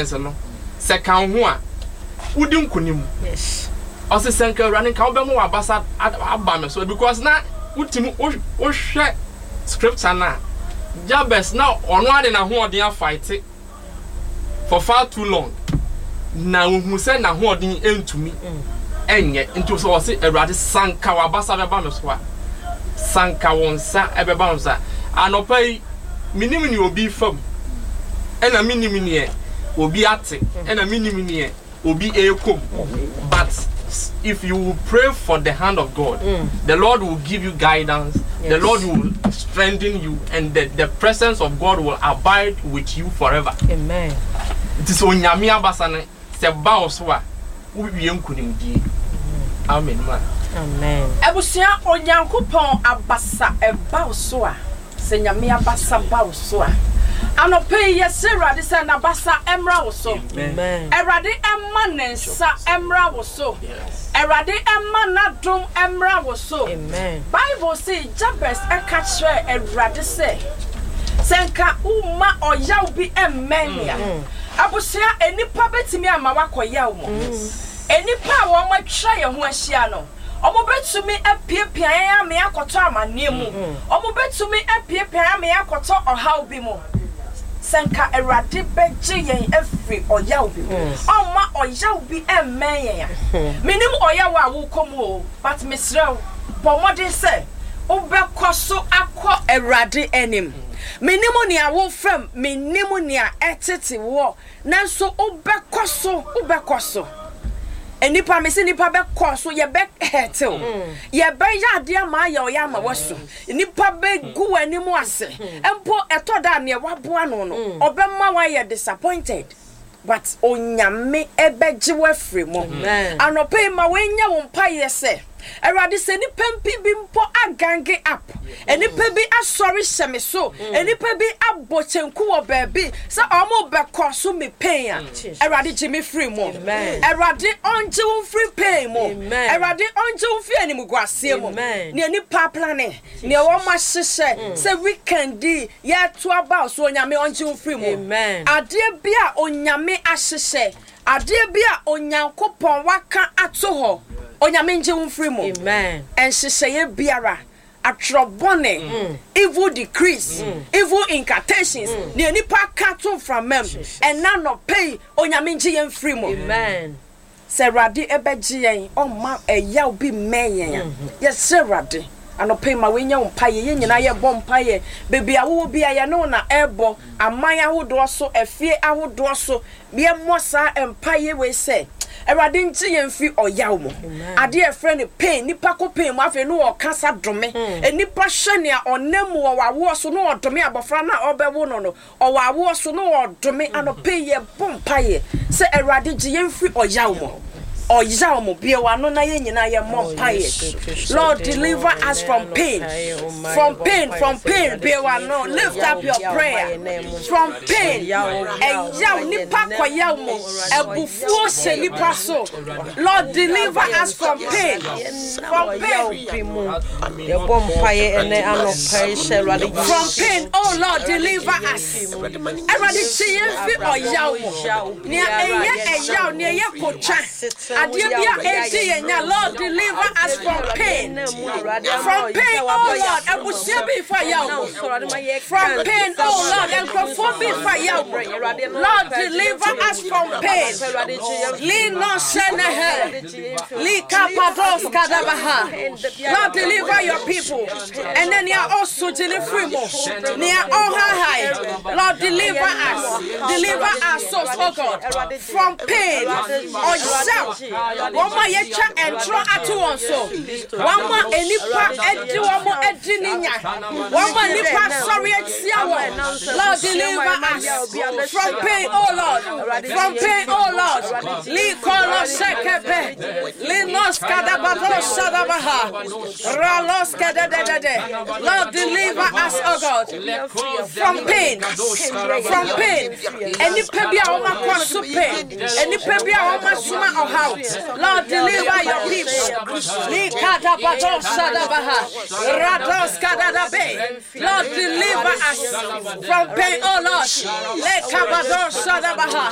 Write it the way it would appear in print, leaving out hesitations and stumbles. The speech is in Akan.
presence no sɛ ka wo ho a, wodi nkonim. Ɔse sɛ nka Awurade nka wobɛma w'abasa aba me so because na wotumi wohwɛ scripture no a, Jabez na ɔno ara de n'ahoɔden afight for far too long na ohu sɛ n'ahoɔden ntumi nyɛ nti sɛ ɔse Awurade sanka w'abasa bɛba me so a sanka wo nsa ɛbɛba me so a anɔpa yi menim nea obi fa mu ɛna menim neɛ obi ate ɛna menim neɛ obi ɛrekɔ mu but if you will pray for the hand of God the Lord will give you guidance the Lord will strengthen you and the, the presence of God will abide with you forever. Amen. Nti sɛ Onyame abasa no sɛ ba wo so a wowie nkonimdie. Amen ma. Amen. Abusua Onyankopɔn abasa ɛba wo so a. Sɛ Nyame abasa ba wo so a. Anɔpa yi yɛsrɛ Awurade sɛ n'abasa mmra wo so. Awurade mma ne nsa mmra wo so. Awurade mma n'adom mmra wo so. Bible se Jabes ka kyerɛɛ Awurade sɛ, Sɛ nka womma ɔyaw bi mmɛn me a. Abusua, nnipa bɛtumi ama woakɔ yaw mu. Nnipa a wɔatwa yɛn ho ahyia no, Wɔbɛtumi apiapia yɛn ama yɛakɔtɔ amanneɛ mu. Wɔbɛtumi apiapia yɛn ama yɛakɔtɔ ɔhaw bi mu. Sɛ anka Awurade bɛgye yɛn afiri ɔyaw bi mu, ɔmma ɔyaw bi mmɛn yɛn a. Mennim ɔyaw a worekɔ mu o, but mesrɛ wo, bɔ mmɔden sɛ wobɛkɔ so akɔ Awurade anim. Mennim nea worefa mu, mennim nea ɛretete woɔ. Nanso wobɛkɔ so, wobɛkɔ so. Nnipa, mese nnipa bɛkɔ so, yɛbɛ hɛtew. Yɛbɛyɛ adeɛ ama ayɛ ɔyɛ ama wasu. Nnipa bɛgu w'anim ase. Mpo ɛtɔ da a neɛ waboa no no, ɔbɛma wayɛ disappointed. But Onyame bɛgye wo afiri mu. Anɔpa yi ma wei nyɛ wo mpaeɛ sɛ, Awurade sɛ nnipa mpi bi mpo agange up, nnipa bi asɔre hyɛ me so, nnipa bi abɔ kyenku wɔ baabi sɛ ɔmo bɛkɔ so me pain a, Awurade gye me firi mu. Awurade ɔngye wo mfiri pain mu. Awurade ɔngye wo mfiri animguaseɛ mu. Nea nnipa aplane, nea wɔn ahyehyɛ sɛ weekend yi yɛto aba so, Onyame ɔngye wo mfiri mu. Adeɛ bi a Onyame ahyehyɛ Adeɛ bi a Onyankopɔn waka ato hɔ, Onyame ngye wo mfiri mu. Nhyehyɛeɛ biara, atwerɛ bɔne, evil decrees, evil incantations, deɛ nnipa aka ato mframa mu, ɛnnɛ anɔpa yi, Onyame ngye yɛn mfiri mu. Sɛ Awurade bɛgye yɛn, ɔmma ɛyaw bi mmɛn yɛn a, yɛsrɛ Awurade, anɔpa yi ma wei nyɛ wo mpaeɛ, yɛn nyinaa yɛbɔ mpaeɛ, baabi a wowɔ biara yɛne wo na ɛrebɔ, aman ahodoɔ so, afie ahodoɔ so, Yɛmmɔ saa mpaeɛ wei sɛ, Awurade ngye yɛn mfiri ɔyaw mu. Adeɛ a yɛfrɛ no pain, nipa kɔ pain mu afei na ɔkasa dome. Hmm. Nipa hwɛ nea ɔnam mu wɔ awoɔ so na ɔdome abɔfra no a ɔbɛwo no no, ɔwɔ awoɔ so na ɔdome. Hmm. Anɔpa yi yɛbɔ mpaeɛ sɛ Awurade gye yɛn mfiri ɔyaw mu. Ɔyaw mu, bue w'ano na yɛn nyinaa yɛmmɔ oh, mpaeɛ. Lord deliver us from pain, from pain, from pain. Bue w'ano, lift up your prayer. From pain, ɛyaw, nipa kɔ yaw mu, abufuo hyɛ nipa so. Lord deliver us from pain, from pain. From pain, oh Lord deliver us. Awurade gye yɛn fi ɔyaw mu. Nea ɛyɛ ɛyaw, nea ɛyɛ kotwa. Adeɛ bi a ɛdi yɛn nya, Lord deliver us from pain, from pain, oh Lord, abusua bi fa yaw mu, from pain, oh Lord, nkurɔfoɔ bi fa yaw mu, Lord deliver us from pain, lino sɛnɛhɛ, likapados kadabaha, Lord deliver your people, ɛnɛ nea ɔso gye ne firi mu, nea ɔhahae, Lord deliver us, deliver our souls, oh God. From pain, ɔyaw, wɔn a yɛatwa ntorɔ ato wɔn so, wɔn a nnipa de wɔn adi ne nya, wɔn a nnipa asɔre atia wɔn. Lord, deliver us from pain, oh Lord, from pain, oh Lord. Likolo shekepe, linos kadabado shadabaha, ralos kedededede. Lord, deliver us, oh God, from pain, from pain. Nnipa bi a wɔn akɔ so pɛ, nnipa bi a wɔn asoma ɔhaw. Lord deliver your people. Likadabado shadabaha, rados kadadabe. Lord deliver us from pain, oh Lord. Lekabado shadabaha.